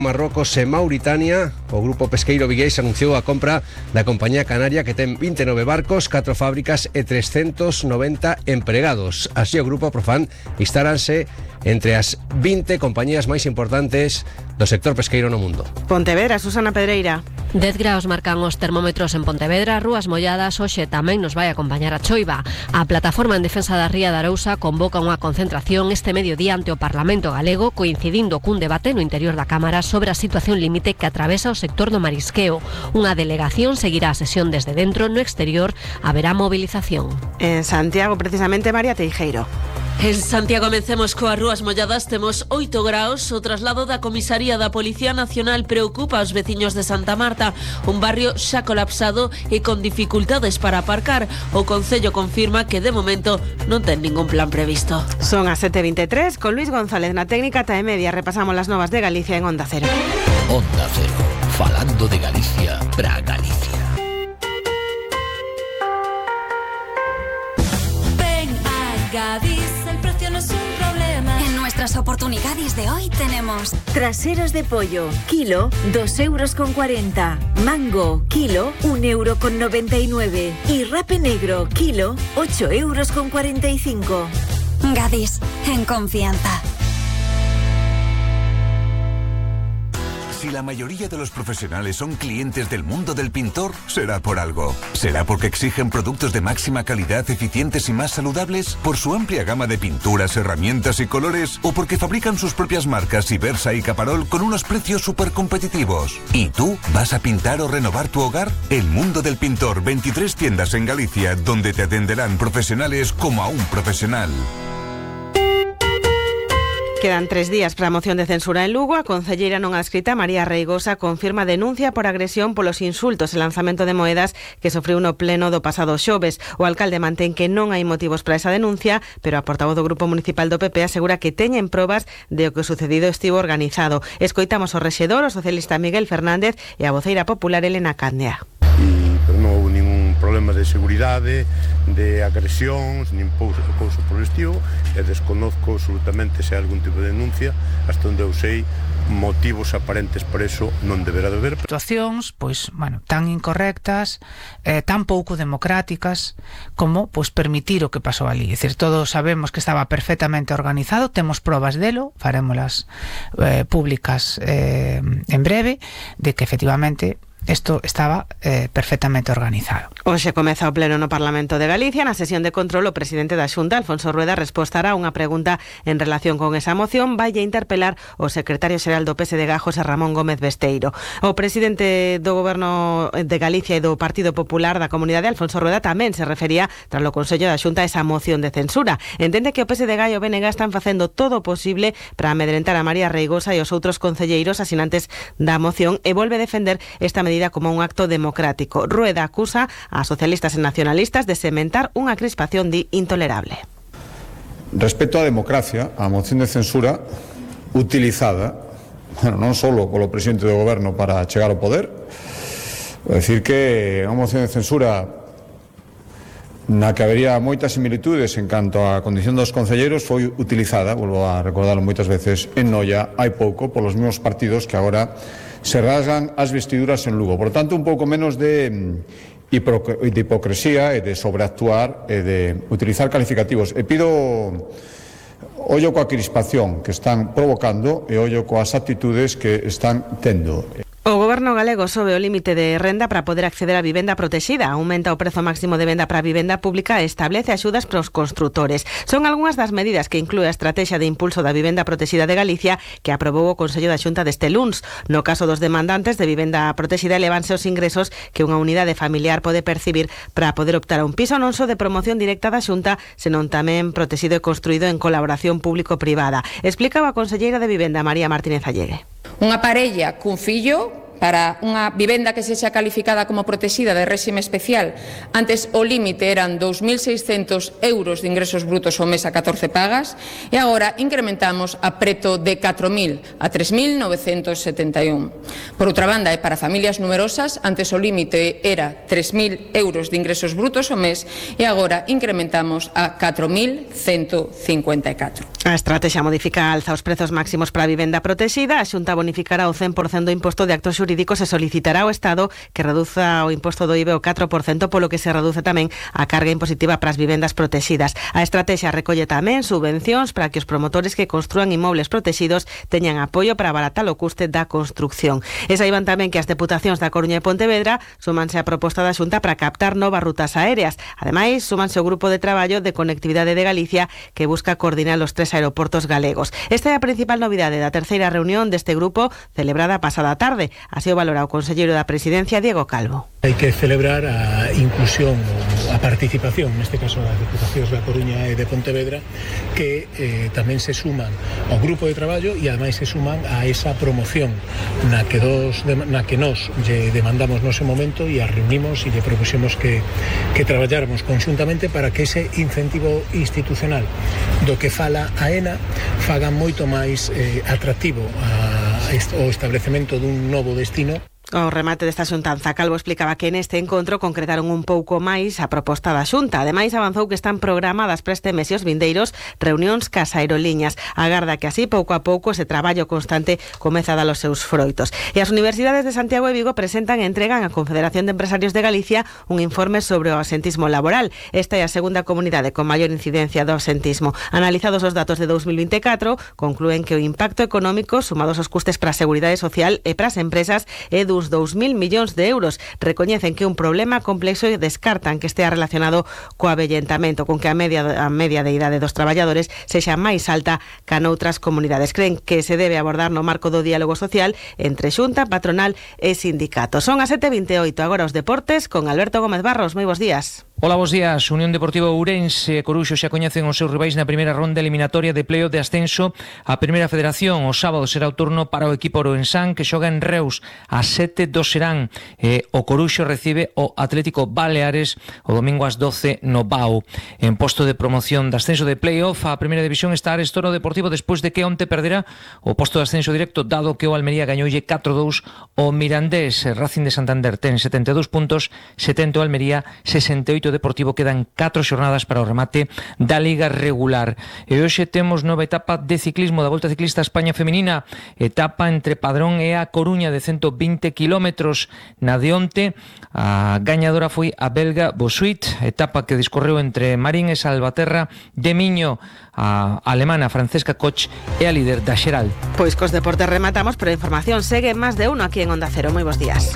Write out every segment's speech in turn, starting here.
Marrocos e Mauritania. O grupo pesqueiro vigués anunciou a compra da compañía canaria que ten 29 barcos, 4 fábricas e 390 empregados. Así o grupo Profan instaranse entre as 20 compañías máis importantes do sector pesqueiro no mundo. Pontevedra, Susana Pedreira. 10 graus marcan os termómetros en Pontevedra, rúas molladas. Hoxe tamén nos vai acompañar a choiva. A Plataforma en Defensa da Ría de Arousa convoca unha concentración este mediodía ante o Parlamento galego, coincidindo cun debate no interior da Cámara sobre a situación límite que atravesa o sector do marisqueo. Unha delegación seguirá a sesión desde dentro, no exterior haberá movilización. En Santiago, precisamente, María Teijeiro. En Santiago comecemos coas rúas molladas, temos 8 graus. O traslado da comisaría da Policía Nacional preocupa aos veciños de Santa Marta, un barrio xa colapsado e con dificultades para aparcar. O Concello confirma que de momento non ten ningún plan previsto. Son as 7:23, con Luis González na técnica e media. Repasamos las novas de Galicia en Onda Cero. Onda Cero, falando de Galicia para Galicia. Ven a Gadis, el precio no es un problema. En nuestras oportunidades de hoy tenemos traseros de pollo, kilo, 2,40 €. Mango, kilo, 1,99 € y rape negro, kilo, 8,45 €. Gadis, en confianza. Si la mayoría de los profesionales son clientes del mundo del pintor, será por algo. ¿Será porque exigen productos de máxima calidad, eficientes y más saludables? ¿Por su amplia gama de pinturas, herramientas y colores? ¿O porque fabrican sus propias marcas Ibersa y Caparol con unos precios súper competitivos? ¿Y tú vas a pintar o renovar tu hogar? El mundo del pintor, 23 tiendas en Galicia, donde te atenderán profesionales como a un profesional. Quedan 3 días para a moción de censura en Lugo. A concelleira non adscrita María Reigosa confirma denuncia por agresión polos insultos e lanzamento de moedas que sofreu no pleno do pasado xoves. O alcalde mantén que non hai motivos para esa denuncia, pero a portavoz do Grupo Municipal do PP asegura que teñen probas de o que o sucedido estivo organizado. Escoitamos o rexedor, o socialista Miguel Fernández, e a voceira popular Elena Candia. Pero non houve ningún problema de seguridade, de agresións, nin cousa por estilo, e desconozco absolutamente se hai algún tipo de denuncia, hasta onde eu sei, motivos aparentes para eso non deberá de haber. Situacións, pois, tan incorrectas, tan pouco democráticas, como, permitir o que pasou ali. É dicir, todos sabemos que estaba perfectamente organizado, temos probas delo, farémolas públicas en breve, de que efectivamente isto estaba perfectamente organizado. Hoxe comeza o pleno no Parlamento de Galicia. Na sesión de control, o presidente da Xunta, Alfonso Rueda, respostará unha pregunta en relación con esa moción. Vai a interpelar o secretario xeral do PSD, José Ramón Gómez Besteiro. O presidente do Goberno de Galicia e do Partido Popular da Comunidade, Alfonso Rueda, tamén se refería tras o Consello da Xunta a esa moción de censura. Entende que o PSDG e o BNG están facendo todo o posible para amedrentar a María Reigosa e os outros concelleiros asinantes da moción, e volve a defender esta medida como un acto democrático. Rueda acusa a socialistas e nacionalistas de sementar unha crispación intolerable. Respecto á democracia, a moción de censura utilizada, non só polo presidente do goberno para chegar ao poder, vou dicir que a moción de censura na que habería moitas similitudes en canto á condición dos concelleiros foi utilizada, volvo a recordarlo moitas veces, en Noia hai pouco polos mesmos partidos que agora se rasgan as vestiduras en Lugo. Por tanto, un pouco menos de hipocresía e de sobreactuar e de utilizar calificativos. E pido ollo coa crispación que están provocando e ollo coas actitudes que están tendo. O Goberno galego sobe o límite de renda para poder acceder a vivenda protexida, aumenta o prezo máximo de venda para a vivenda pública e establece axudas para os construtores. Son algunhas das medidas que inclúe a Estrategia de Impulso da Vivenda Protexida de Galicia que aprobou o Consello da Xunta deste luns. No caso dos demandantes de vivenda protexida, elevanse os ingresos que unha unidade familiar pode percibir para poder optar a un piso non só de promoción directa da Xunta, senón tamén protegido e construído en colaboración público-privada. Explicaba a conselleira de Vivenda, María Martínez Allegue. Unha parella cun fillo para unha vivenda que sexa calificada como protexida de réxime especial, antes o límite eran 2.600 euros de ingresos brutos ao mes a 14 pagas e agora incrementamos a preto de 4.000 a 3.971. Por outra banda, e para familias numerosas, antes o límite era 3.000 euros de ingresos brutos ao mes e agora incrementamos a 4.154. A estrategia modifica a alza os prezos máximos para a vivenda protexida. A Xunta bonificará o 100% do imposto de actos xurídicos e solicitará ao Estado que reduza o imposto do IVA ao 4%, polo que se reduce tamén a carga impositiva para as vivendas protexidas. A estrategia recolle tamén subvencións para que os promotores que construan inmobles protexidos teñan apoio para abaratar o custe da construcción. E saiban tamén que as deputacións da Coruña e Pontevedra súmanse á proposta da Xunta para captar novas rutas aéreas. Ademais, súmanse o grupo de traballo de conectividade de Galicia que busca coordinar os 3 aeroportos galegos. Esta é a principal novidade da terceira reunión deste grupo celebrada pasada tarde. Así o valora o conselleiro da Presidencia, Diego Calvo. Hai que celebrar a inclusión, a participación, neste caso das deputacións da Coruña e de Pontevedra, que tamén se suman ao grupo de traballo e ademais se suman a esa promoción na que nos lle demandamos nose momento e a reunimos e lle propuxemos que traballáramos conxuntamente para que ese incentivo institucional do que fala a ENA faga moito máis atractivo o establecemento dun novo destino. O remate desta xuntanza, Calvo explicaba que neste encontro concretaron un pouco máis a proposta da Xunta. Ademais, avanzou que están programadas para este mes e os vindeiros reunións cas aerolíneas. Agarda que así, pouco a pouco, ese traballo constante comeza a dar os seus froitos. E as universidades de Santiago e Vigo presentan e entregan á Confederación de Empresarios de Galicia un informe sobre o absentismo laboral. Esta é a segunda comunidade con maior incidencia do absentismo. Analizados os datos de 2024, conclúen que o impacto económico, sumados aos custes para a seguridade social e para as empresas, é dos 2.000 millóns de euros. Recoñecen que é un problema complexo e descartan que estea relacionado co avellentamento, con que a media de idade dos traballadores sexa máis alta que noutras comunidades. Creen que se debe abordar no marco do diálogo social entre Xunta, patronal e sindicatos. Son as 7:28, agora os deportes con Alberto Gómez Barros. Moi bons días. Ola, bos días. Unión Deportiva Ourense e Coruxo xa coñecen os seus rivais na primeira ronda eliminatoria de playoff de ascenso á Primeira Federación. O sábado será o turno para o equipo ourensán que xoga en Reus. Ás 7 do Serán. O Coruxo recibe o Atlético Baleares o domingo ás 12 no Bao. En posto de promoción de ascenso de playoff a Primeira División está Arestora Deportivo despois de que onte perdera o posto de ascenso directo, dado que o Almería gañoulle 4-2 o Mirandés. Racing de Santander ten 72 puntos, 70 o Almería, 68 Deportivo. Quedan 4 xornadas para o remate da Liga regular. E hoxe temos nova etapa de ciclismo da Volta Ciclista a España Feminina, etapa entre Padrón e a Coruña de 120 kilómetros. Na de onte, a gañadora foi a belga Bosuit, etapa que discorreu entre Marín e Salvaterra de Miño. A alemana Francesca Koch é a líder da xeral. Pois cos deportes rematamos, pero a información segue máis de uno aquí en Onda Cero. Moi bons días.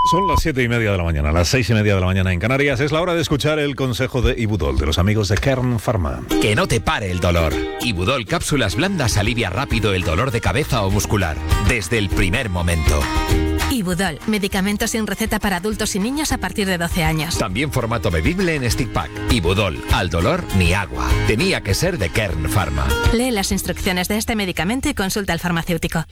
Son las 7:30 de la mañana, las 6:30 de la mañana en Canarias. Es la hora de escuchar el consejo de Ibudol, de los amigos de Kern Pharma. Que no te pare el dolor. Ibudol Cápsulas Blandas alivia rápido el dolor de cabeza o muscular, desde el primer momento. Ibudol, medicamento sin receta para adultos y niños a partir de 12 años. También formato bebible en stick pack. Ibudol, al dolor ni agua. Tenía que ser de Kern Pharma. Lee las instrucciones de este medicamento y consulta al farmacéutico.